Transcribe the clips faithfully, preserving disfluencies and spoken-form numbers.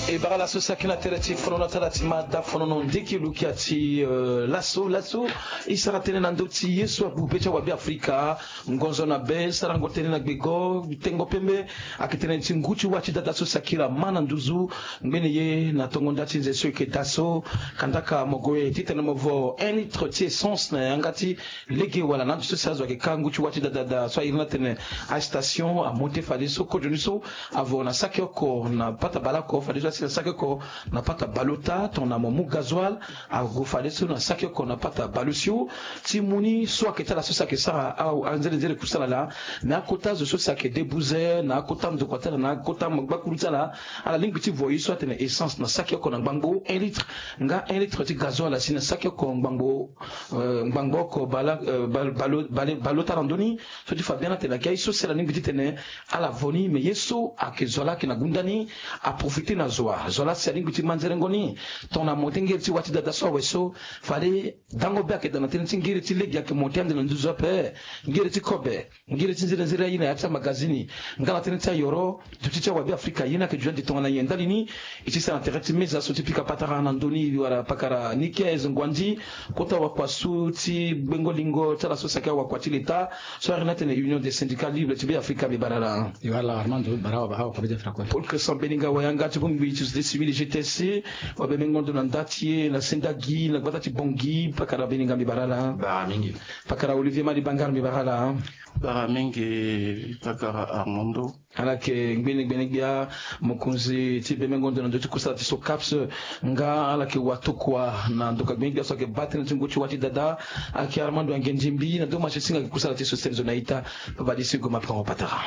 E bara laso saki na tere ti fonono atala ti ma da fonono ndiki lukia ti, eh, laso laso. E sara tënë na ndö ti ye so abu be ti awabe afrika. Ngonzo na be sarango tënë na gbego tengo pembe. Ayeke tënë ti ngu ti wa ti dada so sakira ma na nduzu. Ngbene ye na tongo nda ti nze so eke da so. Kandaka mo gue titene mo vo un litre ti essence na yanga ti lege wala na ando so si azo ayeke ka ngu ti wa ti dadada so airi ni atene astation amonte fadeso kozo ni so avo na saki oko na pata baleoko fadeso asi na saki oko na pata baleota tongana mo mu gazoile. Ague fadeso na saki oko na pata baleosio. Ti mu ni so ayeke ti ala so si ayeke sara anzere nzere kusala laa. Me akota zo so si ayeke debuze na akota ndokua ti ala na akota gbakuru ti ala. Ala lingbi ti vo ye so atene essence na saki oko na ngbangbo un litre nga un litre ti gazoile asi na saki oko ngbangbo ngbangbo oko baleota na ndö ni. So ti fa bien atene ayeke aye so si ala lingbi titene ala vo ni me ye so ayeke zo laa ayeke na gunda ni. Aprofite na zo wa zo laa si alingbi ti ma nzerengo ni. Tongana mo te ngeri ti wa ti dada so awe so fade dango be ayeke daa na tënë ti ngeri ti lege ayeke mo te ande na nduzu ape. Ngeri ti kobe ngeri ti nzere nzere aye na ya ti amagazini. Nga na tënë ti ayoro duti ti awabe afrika ye ni ayeke duti ande tongana nyen ndali ni. E ti sara na tere ti meza so ti pika patara na ndö ni wala pakara nikez ngwandi kota wakua so ti gbengo lingo ti ala so saki awakua ti leta so ari ni atene union des syndicats libres ti be afrika mbi bara ala. Mbi bara ala armando mbi bara awakua be ti afrika kue. Paul cresson beninga wayanga ti bongbi ti société civile gtsc. Wabemengo ndo na nda ti e na sendagi na gbata ti bongi pakara beninga mbi bara ala. Bara mingi. Pakara olivier mali bangar mbi bara ala. Bara mingi pakara armando. Ala yeke ngbene gbene gbia mokonzi ti bemengo ndo na ndö ti kusala ti so caps. Nga ala yeke watokua na ndoka gbene gbia so ayeke baa tënë ti ngu ti wa ti dada. Ayeke armando angendimbi na ndo ma ti singa ayeke kusala ti so sene zo na ita. Babadisi goma pakango patara.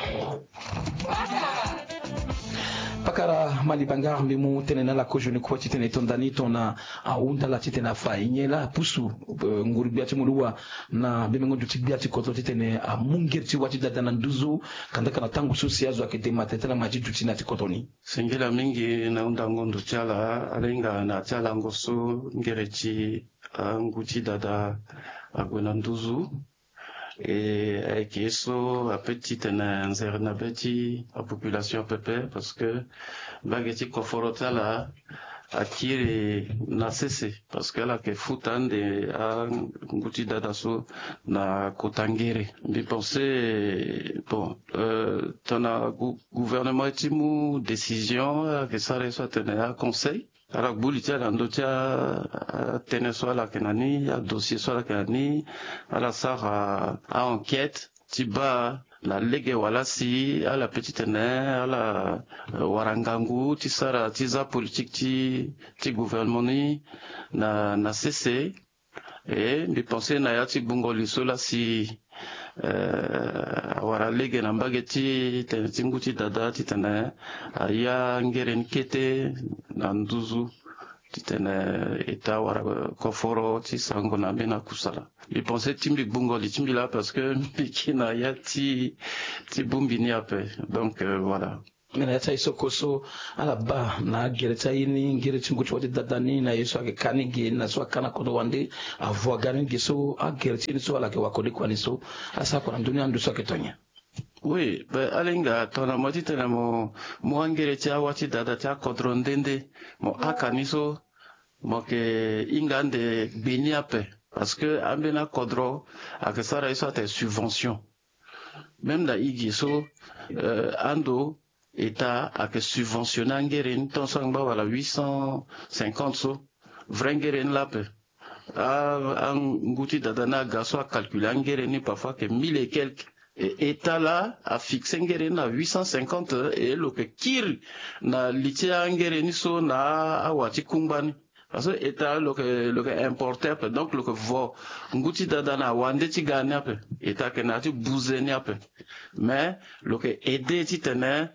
Pakara mali bangar mbi mu tënë na ala kozo ni kue titene e to nda ni tongana ahunda ala titene afa e nyen laa apusu nguru gbia ti muluwa na bemengo ndo ti gbia ti kodro titene amu ngeri ti wa ti dada na nduzu. Kandaka na tango so si azo ayeke dema tene ti ala ma ti duti na ti kodro ni. Singila mingi na hundango ndo ti ala ala hinga na ya ti alango so ngere ti angu ti dada ague na nduzu. E ayeke ye so ape titene nzere na be ti apopulation pepe parce que mbage ti koforo ti ala akiri na sese parce que ala yeke futa ande angu ti dada so na kota ngere. Mbi pense bon tongana gouvernement ti mu décision ala yeke sara ye so atene aconseil ala gbu li ti ala na ndö ti atënë so ala yeke na ni adossier so ala yeke na ni. Ala sara a-enquête ti baa na lege wala si ala pe titene ala wara ngangu ti sara ti za politique ti ti gouvernement ni na na sese. E mbi pense na ya ti gbungo li so lasi awara lege na mbage ti tene ti ngu ti dada titene aya ngere ni kete na nduzu titene eta wara koforo ti sango na ambeni akusala. Mbi pense ti mbi gbungo li ti mbi laa parce que mbi ke na ya ti ti bongbi ni ape. Donc voilà. Me na ya ti aye so koso ala baa na agere ti aye ni ngere ti ngu ti wa ti dada ni na ye so ayeke ka ni ge na so aka na kodro wande avo aga ni ge so agere ti ye ni so ala yeke wakode kua ni so asara kua na ndö ni ando so ayeke to nyen? Oui, be ala hinga tongana mo titene mo mu angere ti awa ti dada ti akodro nde nde mo aka ni so mo yeke hinga ande gbe ni ape. Parce que ambeni akodro ayeke sara ye so atene subvention. Même na e ge so ando eta ayeke subventionner angere ni tant so angba wala huit cent cinquante so. Vrai ngere ni laa ape. Angu ti dada ni aga so acalculer angere ni parfois ayeke mille et quelque. Eta laa afixer ngere ni na huit cent cinquante. E lo yeke kiri na li ti angere ni so na awa ti kungba ni. Parce que eta lo yeke lo yeke importer ape donc lo yeke vo ngu ti dada na wande ti ga ni ape. Eta ayeke na ya ti buze ni ape. Mais lo yeke aider titene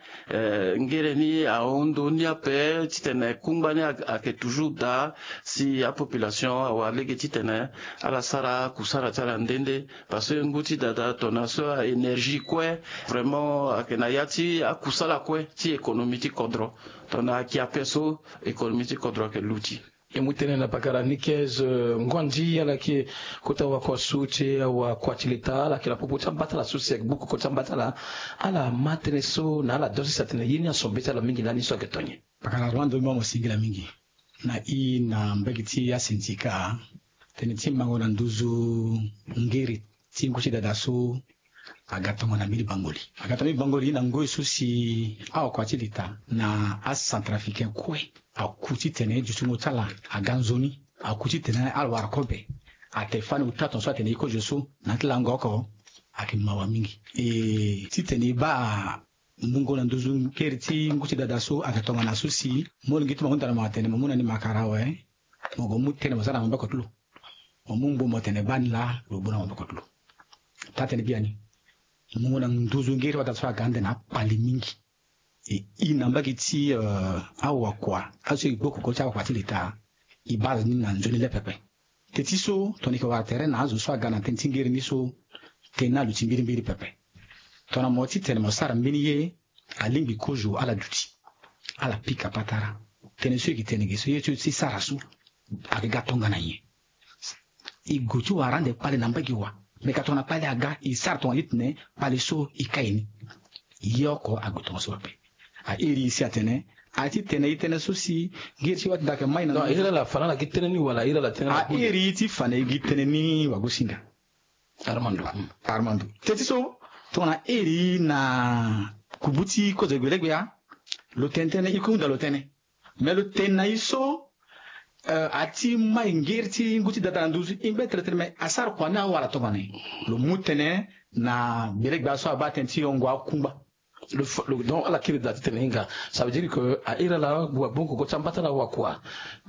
ngere ni ahon ndo ni ape titene kungba ni ayeke toujours daa si apopulation awara lege titene ala sara kusala ti ala nde nde. Parce que ngu ti dada tongana so a-énergie kue vraiment ayeke na ya ti akusala kue ti économie ti kodro. Tongana ayeke ape so économie ti kodro ayeke luti. E mu tënë na pakara Nikez, eh, Ngondi, ala yeke kota wakua so ti e, awakua ti leta, ala yeke na popo ti ambatala so si ayeke gbu koko ti ambatala. Ala ma tënë so na ala dosi si atene ye ni aso mbeti ala mingi lani so ayeke to nyen? Pakara Armando, mo singila mingi. Na i na mbage ti asindika, tënë ti mango na nduzu ngeri ti ngu ti dada so aga tongana mbeni bango li. Aga tongana mbeni bango li na ngoi so si awakua ti leta na acentrafricain kue aku titene dutingo ti ala aga nzoni, aku titene ala wara kobe. Ate fani uta tongaso atene e kozo so na ya ti lango oko, ayeke mawa mingi. E titene e baa mungo na nduzu ngeri ti ngu ti dada so ayeke tongana so si molenge ti mo ahunda na mo atene mo mu na ni makara awe, mo gue mu tënë mo sara na maboko ti lo. Mo mu ngbo mo tene baa ni laa, lo gbu na maboko ti lo. Taa-tënë biani, mungo na nduzu ngeri ti wadada so aga ande na akpale mingi. E, i na mbage ti, eh, awakua aso e gbu koko ti awakua ti leta, e baa ni na nzoni le pepe. Teti so tongana e yeke wara tere na azo so aga na tënë ti ngeri ni so, tënë ni aluti mbirimbiri pepe. Tongana mo titene mo sara mbeni ye, alingbi kozo ala duti, ala pika patara. Tënë so e yeke tene ge so, ye so e sara so, ayeke ga tongana nyen? E gue ti wara ande kpale na mbage wa. Me ka tongana kpale aga, e sara tongana ye ti tene kpale so e kai ni. Ye oko ague tongaso ape. A iri e si atene, a ti tene e tene so si ngeri ti wati dake mai na. Non, iri ala fa na ala gi tënë ni wala iri ala tënë. A iri ti fa na e gi tënë ni wagosinga. Armando. Mm. Armando. Teti so, tongana iri na kubu ti kozo gbelegbia, lo tene tënë, e kunda lo tënë. Me lo tene na e so, eh, a ti mai ngeri ti ngu ti dada na nduzu, e ngbe tene tënë, me asara kua ni awara tongana nyen? Lo mu tënë na gbelegbia so abaa tënë ti yongo akungba. Lo fa-, lo, donc, ala kiri da ti tene hinga. Ça veut dire que a iri ala wa gbongo koko ti ambatala wakua.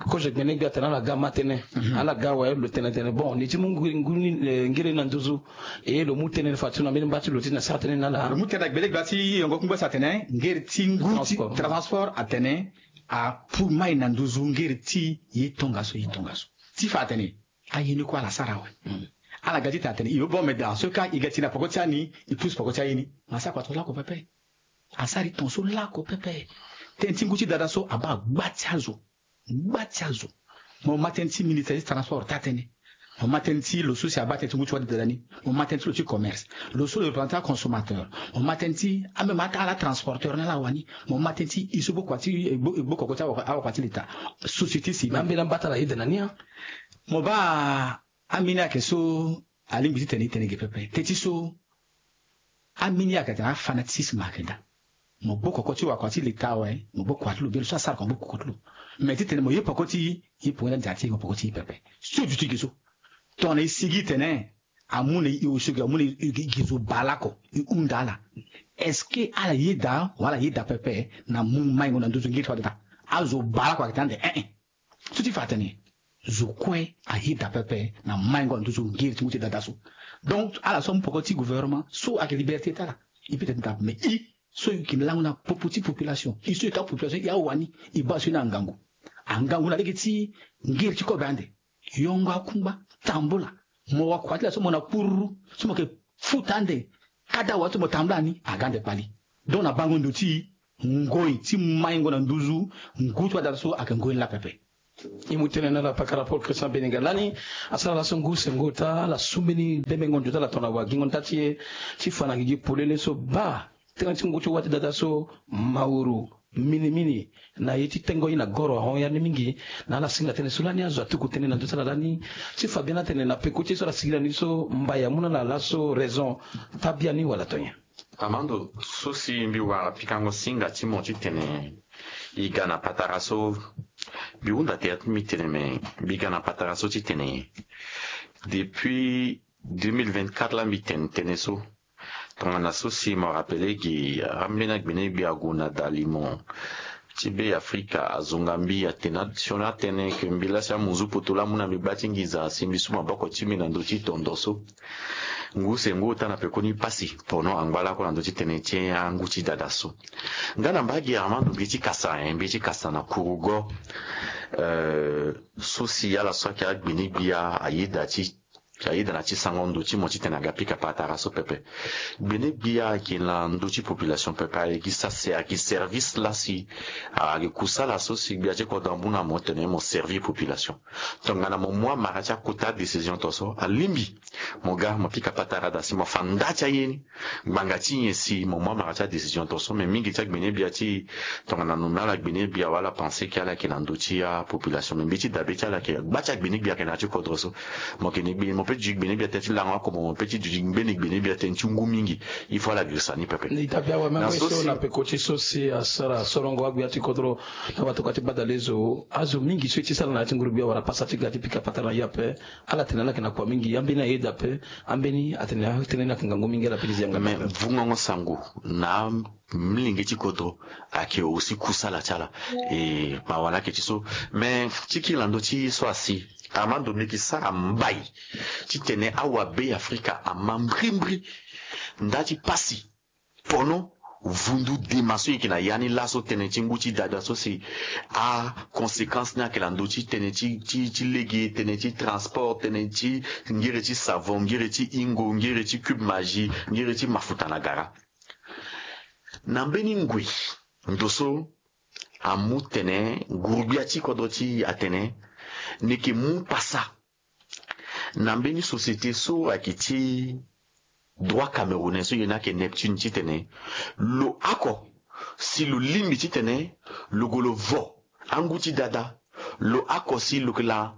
Kozo gbene gbia atene ala ga ma tënë. Mhm. Ala ga awe, lo tene tene. Bon, ni ti mu ngu-, ngu-, ni, eh, ngiri na nduzu. E lo mu tënë fa ti lo na mbeni mba ti lo ti na sara tënë na ala. Lo mu tënë na gbelegbia ti yongo kungba si atene ngiri ti ngu ti transport. Transport atene apu mai na nduzu ngiri ti ye tongaso, ye tongaso. Ti fa atene aye ni kue ala sara awe. Mm. Ala ga ti tene atene e, bon, mais dans ce cas, e ga ti na poko ti ani, e pusu poko ti aye ni. Me asara kua tongaso lako pepe. Asara e tongaso lako pepe. Tënë ti ngu ti dada so abaa gba ti azo. Gba ti azo. Mo ma tënë ti ministre ti transport taa-tënë. Mo ma tënë ti lo so si abaa tënë ti ngu ti wati dada ni. Mo ma tënë ti lo ti commerce. Lo so lo représentant consommateur. Mo ma tënë ti, ah, même ata ala transporteur na ala wani. Mo ma tënë ti e so gbu kua ti, e gbu, e gbu koko ti awakua, awakua ti leta. Société civile. Ambeni ambatala ayeda na ni, hein. Mo baa ambeni ayeke so alingbi ti tene e tene ge pepe. Teti so, ambeni ayeke atene afanatisme ayeke daa. Mo gbu koko ti wakua ti leta awe, mo gbu kua ti lo, bia lo so asara kua mo gbu koko ti lo. Me ti tene mo ye poko ti e, e poko ti adia ti e, mo poko ti e pepe. So duti ge so. Tongana e sigi tene amu na e osio ge, amu na e, e, e zo baa lako, e hunda ala. Est-ce que ala yeda wala ala yeda pepe na mu maingo na nduzu ngiri ti wadada? Azo baa lako ayeke tene ande, eh, eh. So ti fa atene zo kue ayeda pepe na maingo na nduzu ngiri ti ngu ti dada so. Donc ala so amu poko ti gouvernement so ayeke liberté ti ala. E peut-être dape, mais e so e yeke lango na popo ti population, e so e ka population, e awani, e baa so ni angangu. Angangu na lege ti ngiri ti kobe ande, yongo akungba, tambula. Mo wakua ti la so mo na kururu so mo yeke futa ande, kada wa so mo tambula ni aga ande kpali. Donc na bango ndo ti ngoi ti maingo na nduzu ngu ti wadada so ayeke ngoi ni laa pepe. E mu tënë na ala pakara Paul Christian Beninga lani, asara laso ngu sengo ota, ala su mbeni bembengo ndio ti ala tongana wagingo nda ti e, ti fa na gigi polele so baa tënë ti ngu ti wati dada so, mauru, minimini, na ye ti tengo ye na goro ahon ya ni mingi, na ala singa tënë so lani azo atuku tënë na ndo ti ala lani, ti fa biani atene na peko ti ye so ala sigi na ni so, mbai amu na ala laso raison, taa biani wala to nyen? Armando, so si mbi wara pikango singa ti mo titene e ga na patara so, mbi hunda tere ti mbi tene me mbi ga na patara so titene depuis deux mille vingt-quatre la mbi tene tënë so. Tongana so si mo rappele gi, ambeni agbene gbia ague na dalimo ti Be Afrika azonga mbi atene sioni atene ke mbi lasi amunzu poto laa amu na mbi gba ti nginza si mbi su maboko ti mbi na ndö ti tondo so. Ngu sengo ota na pekoni pasi pono angba lako na ndö ti tënë ti angu ti dada so. Nga na mbage Armando mbi ti kasa, eh, mbi ti kasa na kurugo, eh, so si ala so ayeke agbene gbia ayeda ti Ayeda na ti sango ndo ti mo titene aga pika patara so pepe. Gbene gbia ayeke na ndo ti population pepe, ayeke sa se ayeke service lasi. Ayeke kusala so si gbia ti kodro amu na mo tene mo servir population. Tongana mo mu amara ti akota décision to so alingbi mo ga mo pika patara da si mo fa nda ti aye ni. Ngbanga ti nyen si mo mu amara ti adécision to so? Me mingi ti agbene gbia ti tongana nomme ala gbene gbia wala pensé ke ala yeke na ndö ti apopulation, me mbi ti dabe ti ala yeke gba ti agbene gbia ayeke na ya ti kodro so. Mo yeke ne gbene, mo pe duti gbene gbia tënë ti lango oko, mo pe ti duti mbeni gbene gbia tënë ti ngu mingi. Il faut ala girisa ni pepe. Ni dabe awe même na so si na peko ti so si asara solongo agbia ti kodro na watokua ti badalezo azo mingi so e ti sara na ya ti nguru gbia wala pasa ti ga ti pika patara na ye ape. Ala tene ala yeke na kua mingi, ambeni ayeda ape. Ambeni atene atene ni ayeke ngangu mingi, ala pe ti zi yanga. Me vungango sango na amlenge ti kodro ayeke aussi kusala ti ala. E ma wala ayeke ti so. Me ti kiri na ndö ti so asi, Armando, mbi yeke sara mbai titene awabe Afrika ama mbrimbri nda ti pasi. Pono vundu dema so e yeke na ya ni laso, tënë ti ngu ti dada so si aconséquence ni ayeke na ndö ti tënë ti, ti, ti lege, tënë ti transport, tënë ti ngere ti savon, ngere ti ingo, ngere ti cube magie, ngere ti mafuta na gara. Na mbeni ngoi ndo so amu tene nguru-gbia ti kodro ti e atene ni yeke mu pasa na mbeni société so ayeke ti droit camerounais so ye ni ayeke Neptune titene lo oko si lo lingbi titene lo gue lo vo angu ti dada, lo oko si lo yeke la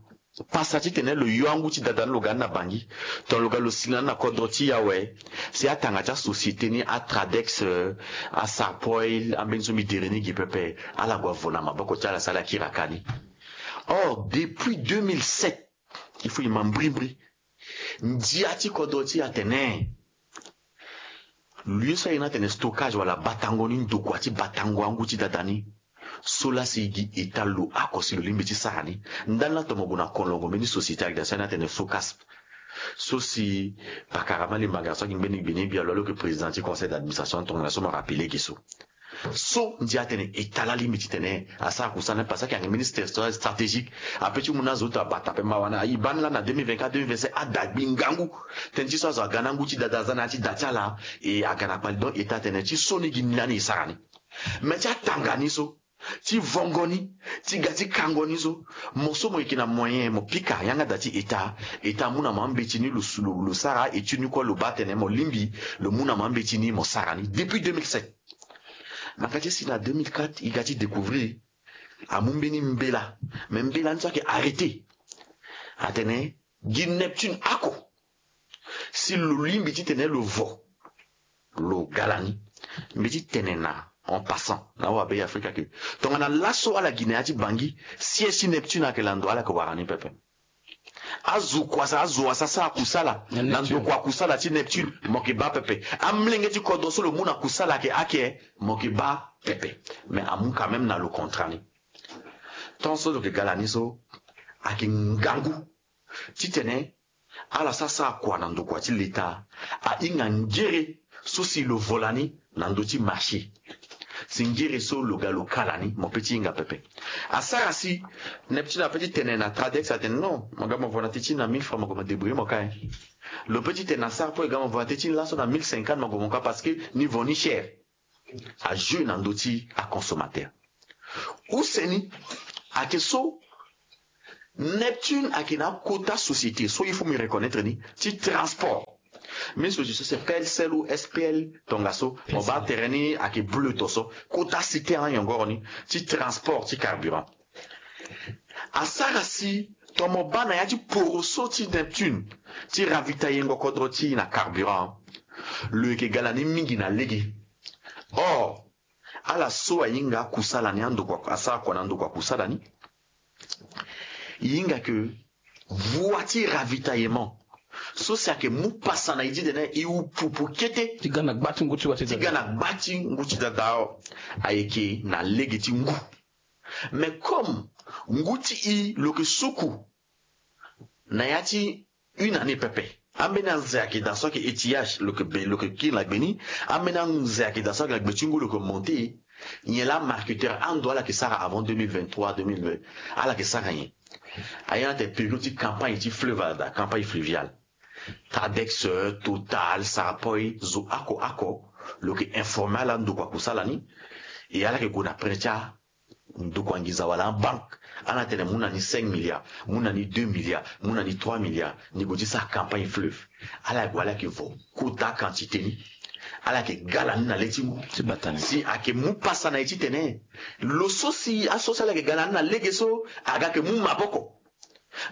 pasa titene lo yo angu ti dada ni lo ga ni na Bangui, tongana lo ga lo sila ni na kodro ti e awe, si atanga ti asociété ni, aTradex, euh, aSarpoil, ambeni so mbi dere ni gi pepe, ala gue avo na maboko ti ala si ala kiri aka ni. Or depuis deux mille sept, il faut e ma mbrimbri. Ndia ti kodro ti e atene lieu so aye ni atene stockage wala batango ni, ndokua ti batango angu ti dada ni, so la si e gi état lo oko si lo lingbi ti sara ni. Ndani la tongana mo gue na kolongo mbeni société ayeke daa so aye ni atene Socasp, so si pakara Malimbanga so ayeke ngbeni gbene gbia lo, lo yeke président ti conseil d'administration, tongana so mo rappeler ge so. So ndia atene état la lingbi titene asara kusala ni, parce que ayeke ministère stratégique. Ape ti mu na azo ti abata ape, ma wani e baa ni la na deux mille vingt-quatre, deux mille vingt-cinq, ada gbi ngangu. Tënë ti so azo aga na ngu ti dada aza na ya ti da ti ala, e aga na kpali. Donc état atene ti so ni gi ni lani e sara ni. Me ti atanga ni so, ti vongo ni, ti ga ti kango ni so, mo so mo yeke na moyen mo pika yanga da ti état, état amu na mo ambeti ni, lo, lo, lo sara étude ni kue, lo baa tene mo lingbi, lo mu na mo ambeti ni mo sara ni depuis deux mille sept. Na ka ti si na deux mille quatre e ga ti découvrir, amu mbeni mbela, me mbela ni so ayeke arrêté. Atene gi Neptune oko si lo lingbi titene lo vo, lo ga lani. Mbi ti tene na, en passant, na awabe Afrika ke tongana laso ala gi na ya ti Bangui, siège ti Neptune ayeke lando, ala yeke wara ni pepe. Azo kua sa, azo wasa asara kusala na ndokua kusala ti Neptune, mo yeke baa pepe. Amolenge ti kodro so lo mu na kusala ayeke ake, mo yeke baa pepe. Mais amu quand même na lo contrat ni. Tant so lo yeke ga lani so, ayeke ngangu titene ala sara sara kua na ndokua ti leta, ahinga ngere so si lo vo lani na ndö ti marché. Si ngere so lo ga lo ka lani, mo pe ti hinga pepe. Asara si Neptune ape ti tene na Tradex atene non, mo ga mo vo na teti ni na mille francs, mo gue mo débrouiller mo ka, hein. Lo pe ti tene na Sarpoil, ga mo vo na teti ni laso na mille cinquante, mo gue mo ka, parce que ni vo ni cher. Ajeu na ndö ti aconsommateur. Use ni ayeke so Neptune ayeke na akota société so il faut mbi reconnaître ni, ti transport. Mbi so ti so c'est P L C L ou S P L, tongaso mo baa tere ni ayeke bleu to so, kota cité ayongoro ni, ti transport ti carburant. Asara si tongana mo baa na ya ti poroso ti Neptune ti ravitailler ngo kodro ti e na carburant, lo yeke ga lani mingi na lege. Or ala so ahinga kusala ni, andokua asara kua na ndokua kusala ni, e hinga ke voie ti ravitaillement so si ayeke mu pasa na e ti tene e wu pupu kete ti ga na gba ti ngu ti wa ti ti ga na gba ti ngu ti dada, ayeke na lege ti ngu. Mais comme ngu ti e lo yeke suku na ya ti une année pepe, ambeni anze ayeke daa so ayeke étiage, lo yeke be, lo yeke kiri na gbe ni. Ambeni anze ayeke daa so ayeke na gbe ti ngu, lo yeke monter. Nyen laa marketeur ando ala yeke sara avant deux mille vingt-trois, deux mille vingt, ala yeke sara nyen? Aye ni atene période ti campagne ti fleuve ala daa, campagne fluviale. Tradex, Total, Sarapoi, zo oko oko, lo yeke informer ala ndokua akusala ni. E ala yeke gue na prêt ti andokua nginza wala abanque, ala tene mu na ni cinq milliards, mu na ni deux milliards, mu na ni trois milliards, ni gue ti sara campagne fleuve. Ala gue, ala yeke vo kota quantité ni. Ala yeke gala ni na le ti ngu. Si ayeke mu pasa na e titene lo so si aso si ala yeke gala ni na lege so, aga yeke mu maboko.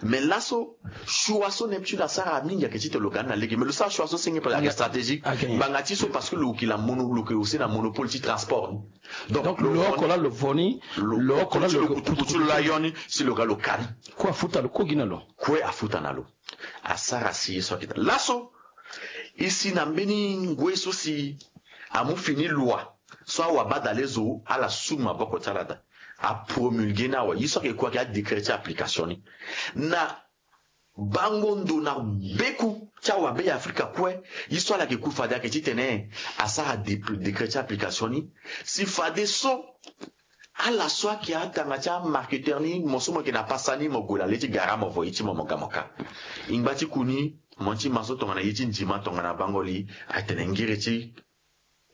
Mais laso, choix so Neptune asara mingi ayeke ti tene lo ga ni na lege, mais lo sara choix so senge parce que ayeke stratégique. Ngbanga ti so parce que lo yeke na mono, lo yeke aussi na monopole ti transport. Donc lo oko laa lo vo ni, lo oko laa lo kutu kutu ti lo la yo ni, si lo ga lo ka ni. Kue afuta lo, kue gi na lo. Kue afuta na lo. Asara si ye so ayeke daa laso. E si na mbeni ngoi so si amu fini loi so awabadale zo ala su maboko ti ala daa, apromulguer ni awe. Ye so ayeke kue ayeke adécret ti application ni. Na bango ndo na beku ti awabe ya Afrika kue, ye so ala yeke ku fade ayeke titene asara dé-, décret ti application ni. Si fadeso ala so ayeke atanga ti amarketeur ni, mo so mo yeke na pasa ni, mo gue na le ti gara, mo vo ye ti mo, mo ga mo ka. E ngba ti ku ni, mo ti ma so tongana ye ti ndima tongana bango li, atene ngiri ti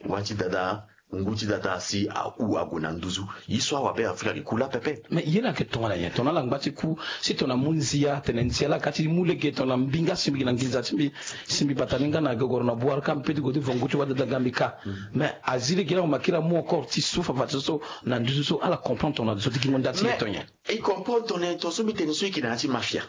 wa ti dada, ngu ti dada si ahu ague na nduzu. Ye so awabe Afrika ayeke ku laa pepe. Mais ye laa ayeke tongana nyen? Tongana ala ngba ti ku, si tongana amu nzia, atene nzia laa ka ti mu lege, tongana mbinga asingbi gi na nginza ti mbi, si mbi bata ni nga na gogoro na buara ka, mbi peut ti gue ti vo ngu ti wa dada ga mbi ka. Mais azi lege laa mo ma kiri amu encore ti su fafa ti so so na nduzu so, ala comprendre tongana zo ti gingo nda ti ye to nyen? E comprendre tongana nyen? Tongaso mbi tene so e yeke na ya ti mafia.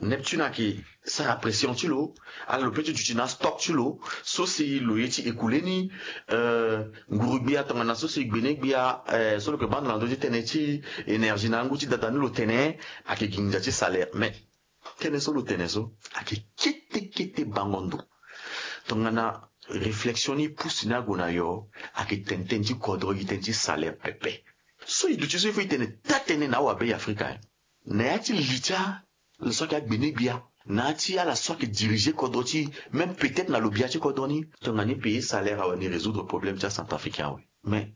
Neptune ayeke sara pression ti lo, ala lo peut ti duti na astock ti lo so si lo ye ti écouler ni. Euh, nguru-gbia tongana so si gbene-gbia, euh, so lo yeke baa ndo na ndö ti tënë ti énergie na angu ti dada ni, lo tene ayeke gi nginza ti salaire. Mais tënë so lo tene so ayeke kete kete bango ndo. Tongana réflexion ni pousse ni ague na yo, ayeke tene tënë ti kodro gi tënë ti salaire pepe. So e duti so il faut e tene taa-tënë na awabe ya Afrika, eh. Na ya ti li ti ala so ayeke agbene-gbia, na ya ti ala so ayeke diriger kodro ti, même peut-être na lo bia ti kodro ni. Tongana e payer salaire awe, ni résoudre problème ti acentrafricain awe. Mais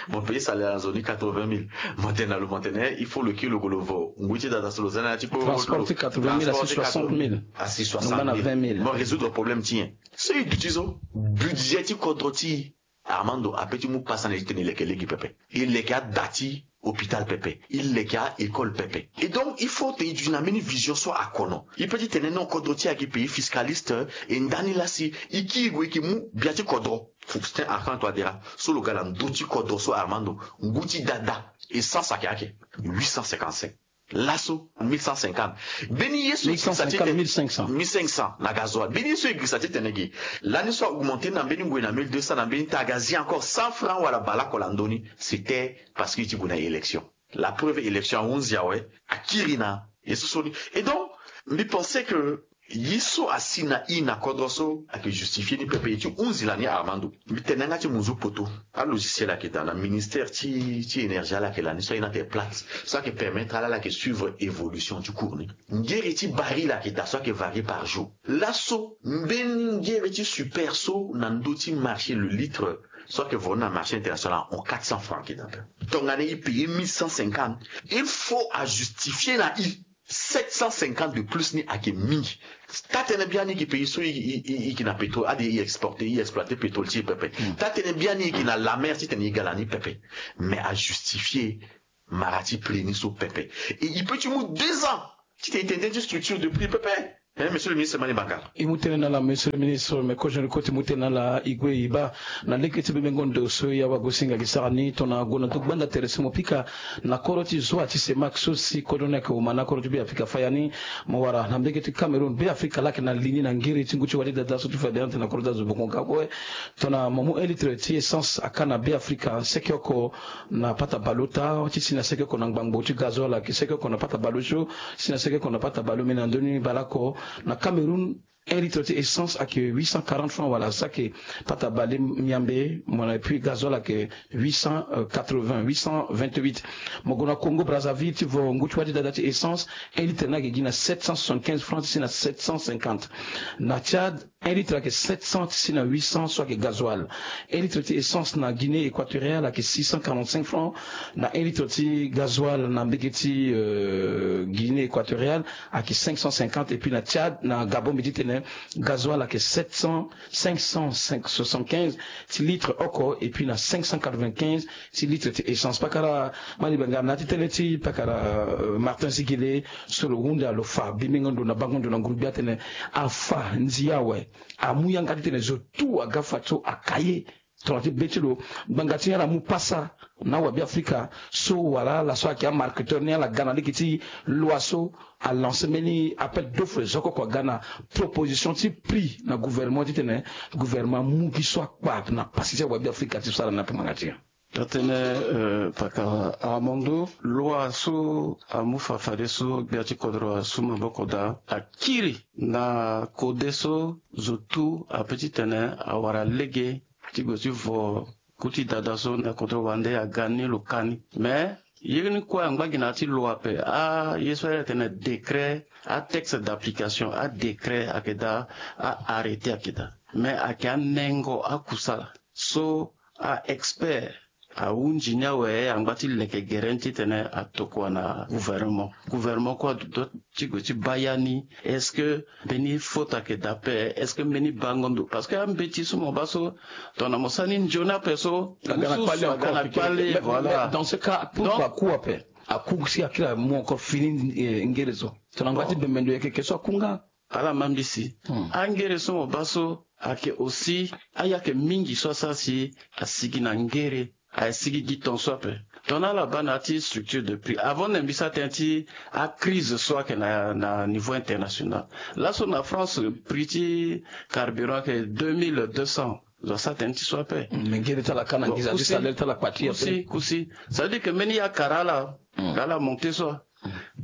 mo payer salaire na zo ni quatre-vingt mille, mo tene na lo, mo tene, eh, il faut lo kiri lo gue lo vo ngu ti dada so lo za na ya ti kpo. Transport ti quatre-vingt mille asi soixante mille. Asi soixante mille. Mo résoudre problème ti nyen? So e duti so, budget ti kodro ti Armando apeut ti mu pasa na e ti tene e leke lege pepe. E leke ada ti hôpital pepe. E leke a-école pepe. Et donc, il faut tene e duti na mbeni vision so akono. E peut ti tene non, kodro ti e ayeke pays fiscaliste, e ndani laa si e kiri gue e yeke mu bia ti kodro. Faustin Archange Touadéra, so lo ga na ndö ti kodro so Armando, ngu ti dada, essence ayeke ake huit cent cinquante-cinq. Laso mille cent cinquante. Mbeni ye so e girisa ti tene mille cinq cents. Mille cinq cents na gasoil. Mbeni ye so e girisa ti tene gi. Lani so a augmenter na mbeni ngoi na mille deux cents, na mbeni temps aga zi encore cent francs wala baleoko na ndö ni. C'était parce que e ti gue na élection. La preuve, élection ahunzi awe, akiri na ye so so ni. Et donc, mbi pense que ye so asi na e na kodro so ayeke justifier ni pepe, e ti hunzi lani Armando. Mbi tene yanga ti munzu poto. Alogiciel ayeke daa na ministère ti, ti énergie, ala yeke lani so aye ni atene Platts, so ayeke permettre ala, ala yeke suivre évolution ti cours ni. Ngiri ti baril ayeke daa so ayeke varier par jour. Laso mbeni ngiri ti super so na ndö ti marché, le litre so ayeke voni na marché international ahon quatre cents francs ayeke daa. Tongana e payer mille cent cinquante, il faut ajustifier na e sept cent cinquante de plus ni ayeke mingi. Taa-tënë biani e yeke pays so e, e, e, e yeke na pétrole, ade e exporter, e exploiter pétrole ti e pepe. Hmm. Taa-tënë biani e yeke na la mer ti tene e ga lani pepe. Mais ajustifier mara ti prix ni so pepe. Et e peut ti mu deux ans ti tene e tene tënë ti structure de prix pepe. Hein, monsieur le ministre Mani Bangala. E mu tënë na ala, monsieur le ministre, me kozo ni kue ti mu tënë na ala, e gue e baa na lege ti bebengo ndo so e awagosinga gi sara ni, tongana gue na ndö gbanda tere so mo pika na kodro ti zoa ti CEMAC so si kodro ni ayeke oma na kodro ti Beafrika faya ni. Mo wara na mbege ti Cameroun, Beafrika laa ayeke na li ni na ngiri ti ngu ti wali dada so ti fade ante na kodro ti azo boko nga kue. Tongana mo mu un litre ti essence aka na Beafrika seke oko na pata bale ota, ti si na seke oko na ngbangbo, ti gazoil ayeke seke oko na pata bale osio, si na seke oko na pata bale omeni na ndö ni baleoko. Na Cameroun, un litre ti essence ayeke huit cent quarante francs wala saki pata bale miambe, mo na, et puis gazoil ayeke huit cent quatre-vingts, huit cent vingt-huit. Mo gue na Congo Brazzaville ti vo ngu ti wali dada ti essence, un litre ni ayeke gi na sept cent soixante-quinze francs ti si na sept cent cinquante. Na Tchad, Un litre ayeke sept cents ti si na huit cents so ayeke gasoil. Un litre ti essence na Guinée équatoriale ayeke six cent quarante-cinq francs. Na un litre ti gasoil na mbege ti euh, Guinée équatoriale ayeke cinq cent cinquante, et puis na Tchad, na Gabon mbi ti tene, gasoil ayeke sept cents, cinq cent soixante-quinze ti litre oko, et puis na cinq cent quatre-vingt-quinze ti litre ti essence. Pakara Malibenga, na ya ti tënë ti pakara euh, Martin Zigele, so lo hunda, lo fa bimbengo ndo na bango ndo na ngurugbi atene, afa ndia awe amu yanga ti tene zo tout aga fadeso aka ye. Tongana ti be ti lo, ngbanga ti ala amu pasa na awabe afrika so wala ala so ayeke amarketeur ni, ala ga na lege ti loi so alance mbeni appel d'offre zo oko oko aga na proposition ti prix na gouvernement ti tene gouvernement amu gi so akpa na pasi ti awabe afrika ti sara na ngbanga ti nyen. Atene euh, pakara Armando, loi so amu fa fadeso gbia ti kodro asu maboko daa, akiri na kode so zo tout ape ti tene awara lege ti gue ti vo ku ti dada so na kodro wande aga ni lo ka ni. Mais ye ni kue angba gi na ya ti loi ape. Aye so ayeke tene décret, atexte d'application, adécret ayeke daa, a-arrêté ayeke daa. Mais ayeke anengo akusala so a-expert ahunzi ni awe, angba ti leke gere ni titene atokua na gouvernement. Gouvernement kue aduti ti gue ti baa ya ni. Est-ce que mbeni faute ayeke daa ape? Est-ce que mbeni bango ndo? Parce que ambeti so mo baa so, tongana mo sara ni nzoni ape so, aga na kpale encore. Voilà. Dans ce cas, pourquoi aku ape? Aku si akiri amu encore fini eh, ngere so. Tongana ngba ti bembe ndo yeke ke so aku nga. Ala ma mbisi. Angere so mo baa so ayeke aussi, aye ayeke mingi so asara si asigi na ngere, asigi gi tongaso ape. Tongana ala baa na ya ti structure de prix, avant na mbi sara tënë ti acrise so ayeke na, na niveau international. Laso na France, prix ti carburant ayeke deux mille deux cents. Zo asara tënë ti so ape. Mais ngere ti ala ka na nginza ti salaire ti ala kpa ti ape. Kusi, kusi. Ça veut dire que mbeni ye akara ala, ala monte so.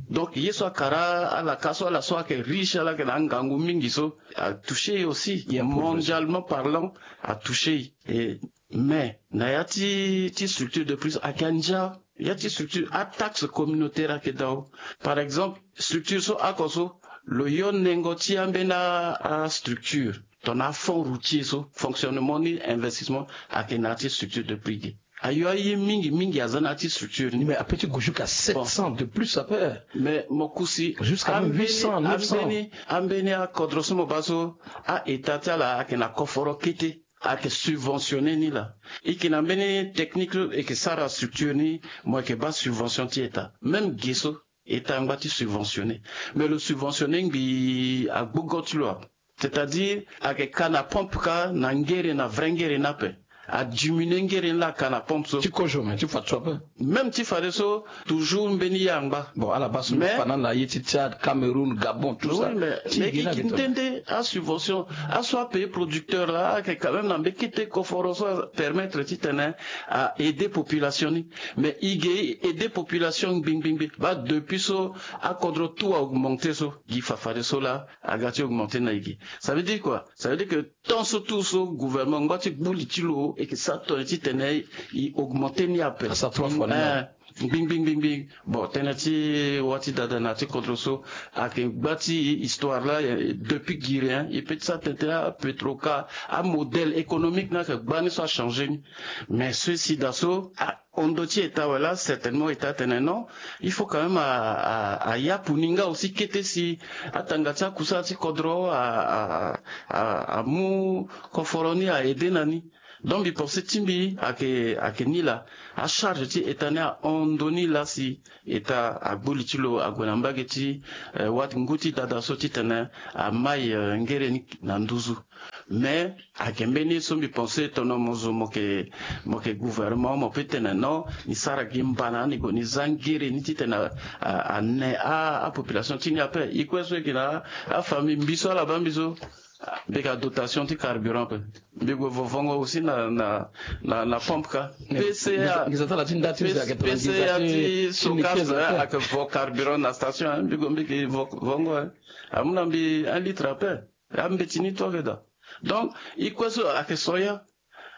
Donc ye so akara ala ka so, ala so ayeke riche, ala yeke na angangu mingi so, atouché ye aussi. Mondialement parlant, atouché ye. Mais na ya ti, ti structure de prix ayeke andia. Ya ti structure, ataxe communautaire ayeke dao. Par exemple, structure so oko so, lo yo nengo ti ambeni astructure, tongana afonds routier so, fonctionnement ni investissement ayeke na ya ti structure de prix ge. Ayo aye mingi mingi aza na ya ti structure ni. Mais ape ti gue jusqu'à sept cents de plus ape. Mais mo kusi, jusqu'à même huit cents, neuf cents. Ambeni, ambeni akodro so mo baa so, a-état ti ala ayeke na koforo kete, ayeke subventionné ni laa. E yeke na mbeni technique so e yeke sara structure ni, mo yeke baa subvention ti état. Même ge so, état angba ti subventionné. Mais lo subventionné ngbii agbogo ti lo. C'est-à-dire, ayeke ka na pompe kâ na ngere, na vrai ngere ni ape. Adiminué ngere ni laa, aka na pompe so. Ti kozo, mais ti fadeso ape. Même ti fadeso, toujours mbeni ye angba. Bon, ala baa so, mais mbi fa na ala ye ti Tchad, Cameroun, Gabon, tout ça. Oui, mais, mais e yeke nde nde asubvention, aso apayer producteur laa, ayeke quand même na mbeni kete koforo so apermettre titene a-aider population ni. Mais e ge aider population ngbi ngbi ngbi. Baa depuis so akodro tout a-augmenter so, gi fa fadeso laa aga ti augmenter na e ge. Ça veut dire quoi? Ça veut dire que temps so tout so gouvernement ngba ti gbu li ti lo, e yeke sara tongana titene e augmenter ni ape. Asara trois fois ni. Eh, ngbi ngbi ngbi ngbi. Bon, tënë ti wâ ti dada na ya ti kodro so ayeke gba ti histoire laa, eh, depuis giri, hein, e peut ti sara tënë ti apetro kâ, amodèle économique ni ayeke gba ni so achanger ni. Mais ceci daa so, ah, hon ndo ti état awe laa, certainement état atene non, il faut quand même a, a, a yapu ni nga aussi kete si atanga ti akusala ti kodro a, a, a, amu koforo ni a-aider na ni. Donc mbi pensé ti mbi ayeke, ayeke ni laa, acharge ti état ni ahon ndo ni laa si état agbu li ti lo ague na mbage ti, eh, wâ ti ngu ti dada so titene amai, eh, ngere ni na nduzu. Mais ayeke mbeni ye so mbi pensé tongana mo zo mo yeke, mo yeke gouvernement, mo peut tene non, ni sara gi mbana ni gue ni za ngere ni titene a, a, ane a, apopulation ti ni ape. E kue so e yeke na afamille, mbi so ala baa mbi so, mbi yeke na dotation ti carburant ape. Mbi gue vo vongo aussi na, na, na, na pompe kâ. P C A, P C A ti Socas ayeke vo carburant na station, hein. Mbi gue mbi yeke vo vongo, hein. Amu na mbi un litre ape. Ambeti ni tout ayeke daa. Donc e kue so ayeke soya.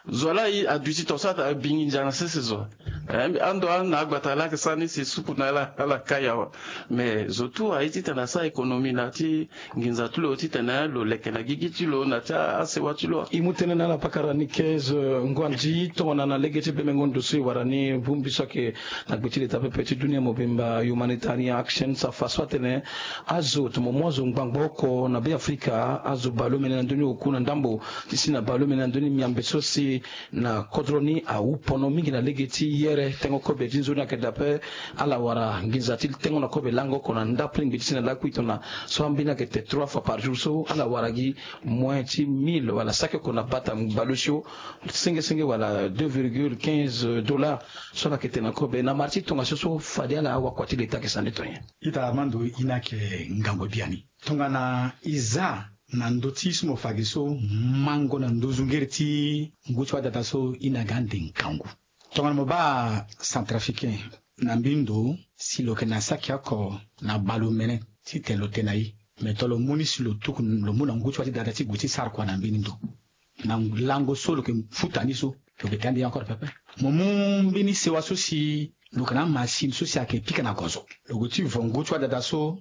Zo laa aduti tongaso ata abingi ndia na sese zo. Ando ande na agbata laa ayeke sara ni si supu na ala ala kai awa. Mais zo tu aye titene asara économie na ya ti nginza ti lo titene lo leke na gigi ti lo na ya ti asewa ti lo. E mu tënë na ala pakara ni quinze ngu andi tongana na lege ti bemengo ndo so e wara ni bongbi so ayeke na gbe ti leta pepe ti dunia mobimba, Humanitarian Action, safa so atene azo tomo mu azo ngbangbo oko na Beafrika, azo baleomene na ndö ni oku na ndambo ti si na baleomene na ndö ni miambe so si na kodro ni awu pono mingi na lege ti yere tengo kobe ti nzoni ayeke dape. Ala wara nginza ti tengo na kobe lango oko na ndapelengbi ti si na lakui tongana so ambeni ayeke te trois fois par jour so ala wara gi moins ti mille wala saki oko na bata baleosio senge senge wala deux virgule quinze dollars so ala yeke te na kobe na mara ti tongaso so fade ala wakua ti leta ayeke sande to nyen? Ita Armando, e na yeke ngangu biani tongana e za na ndö ti so mo fa gi so mango na nduzu ngere ti ngu ti wadata so e na ga ande ngangu. Tongana mo baa Centrafricain na mbeni ndo si lo yeke na saki oko na baleomene titene lo te na e, me to lo mu ni si lo tuku lo mu na ngu ti wa ti dada ti gue ti sara kua na mbeni ndo. Na lango so lo yeke futa ni so, lo yeke te ande ye encore pepe. Mo mu mbeni sewa so si lo yeke na amasini so si ayeke pika na gozo, lo gue ti vo ngu ti wadada so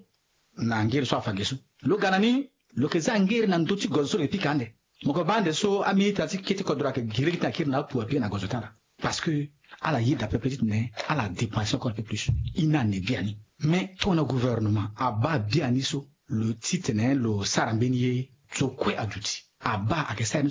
na ngere so afa ge so. Lo ga na ni, lo yeke za ngere na ndö ti gozo so lo yeke pika ande. Mo yeke baa ande so amilita ti kete kodro ayeke gi lege ti na kiri na apu apika na gozo ti ala. Parce que ala yeda pepe titene ala dépenser encore un peu plus. E na ande biani. Mais tongana gouvernement abaa biani so, lo titene lo sara mbeni ye, zo kue aduti. Abaa ayeke sara ye ni so.